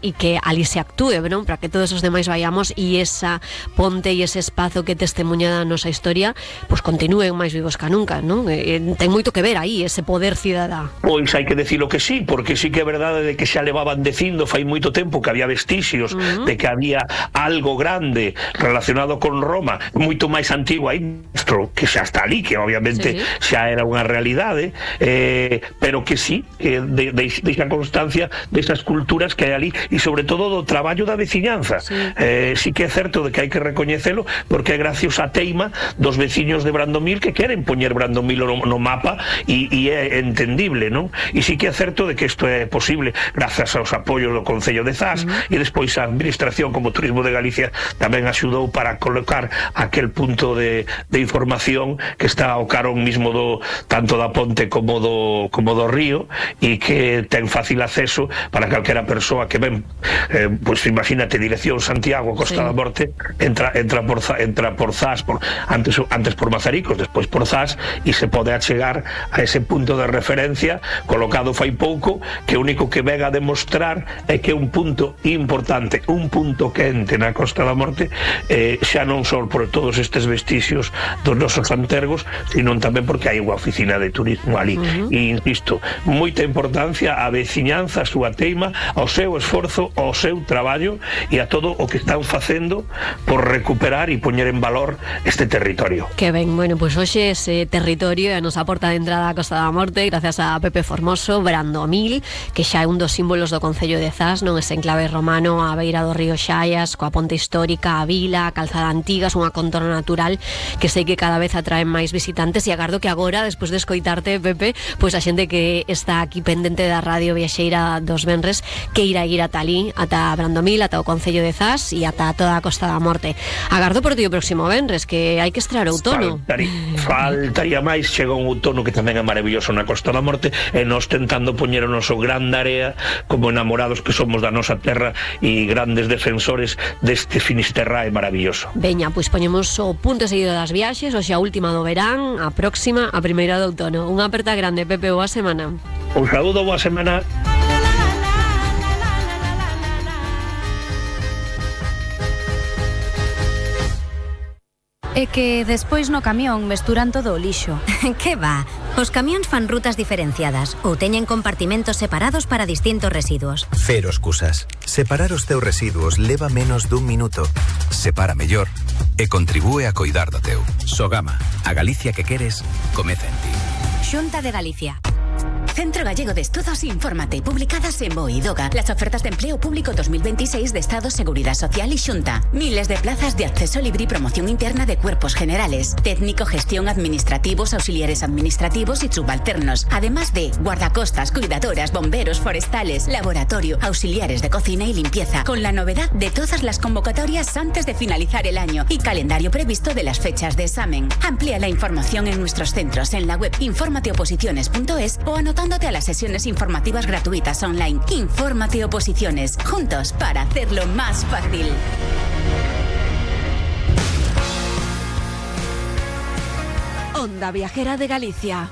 y que ali se actúe, ¿no? Para que todos os demais vayamos e esa ponte e ese espazo que testemunha da nosa historia pues continúen máis vivos que nunca, ¿no? Ten moito que ver aí ese poder cidadá. Pois hai que decilo que sí, porque sí que é verdade de que xa levaban dicindo fai moito tempo que había vestixios de que había algo grande relacionado con Roma, moito máis antigo aí, que xa está ali, que obviamente xa era unha realidade, pero que sí, deixa constancia desas culturas que hai ali e sobre todo do traballo da veciñanza. Sí que é certo de que hai que recoñecelo porque é gracias á teima dos veciños de Brandomil que queren poñer Brandomil no mapa e é entendible, non? E sí que é certo de que isto é posible grazas aos apoios do Concello de Zas e despois a Administración como Turismo de Galicia tamén axudou para colocar aquel punto de información que está ao carón mismo tanto da ponte como do río e que ten fácil acceso para calquera persoa que ven, pues imagínate, dirección Santiago, Costa da Morte, entra por Zas, antes por Mazaricos, despois por Zas, e se pode achegar a ese punto de referencia colocado fai pouco, que o único que ven a demostrar é que un punto importante, un punto quente na Costa da Morte, xa non só por todos estes vestixios dos nosos antergos, sino tamén porque hai unha oficina de turismo ali. E insisto, moita importancia á veciñanza, a súa teima, ao seu esforzo, ao seu traballo e a todo o que están facendo por recuperar e poñer en valor este territorio. Que ben, bueno, pois hoxe ese territorio é a nosa porta de entrada á Costa da Morte gracias a Pepe Formoso, Brandomil, que xa é un dos símbolos do Concello de Zas, non? Ese enclave romano á beira do río Xaias, coa ponte histórica, a vila, a calzada antiga, é unha contorna natural que sei que cada vez atraen máis visitantes e agardo que agora, despois de escoitarte, Pepe, pois a xente que está aquí pendente da Radio Viaxeira dos venres que irá ir ata ali, ata Brandomil, ata o Concello de Zas e ata toda a Costa da Morte. Agardo por ti o próximo venres, que hai que estrear outono. Faltaría máis, chega un outono que tamén é maravilloso na Costa da Morte e nós tentando poñer o noso grande area como enamorados que somos da nosa terra e grandes defensores deste Finisterrae maravilloso. Veña, pois poñemos o punto seguido das viaxes, hoxe a última do verán, a próxima, a primeira do outono. Unha aperta grande, Pepe, boa semana. Un saúdo, boa semana. É que despois no camión mesturan todo o lixo. Que va? Os camións fan rutas diferenciadas ou teñen compartimentos separados para distintos residuos. Cero excusas. Separar os teus residuos leva menos dun minuto. Separa mellor e contribúe a coidar do teu. Sogama, a Galicia que queres, comeza en ti. Xunta de Galicia. Centro Gallego de Estudos Infórmate, publicadas en BOE y DOGA. Las ofertas de empleo público 2026 de Estado, Seguridad Social y Xunta. Miles de plazas de acceso libre y promoción interna de cuerpos generales, técnico, gestión, administrativos, auxiliares administrativos y subalternos. Además de guardacostas, cuidadoras, bomberos, forestales, laboratorio, auxiliares de cocina y limpieza. Con la novedad de todas las convocatorias antes de finalizar el año y calendario previsto de las fechas de examen. Amplía la información en nuestros centros en la web informateoposiciones.es o anotándote a las sesiones informativas gratuitas online. Infórmate Oposiciones, juntos para hacerlo más fácil. Onda Viajera de Galicia.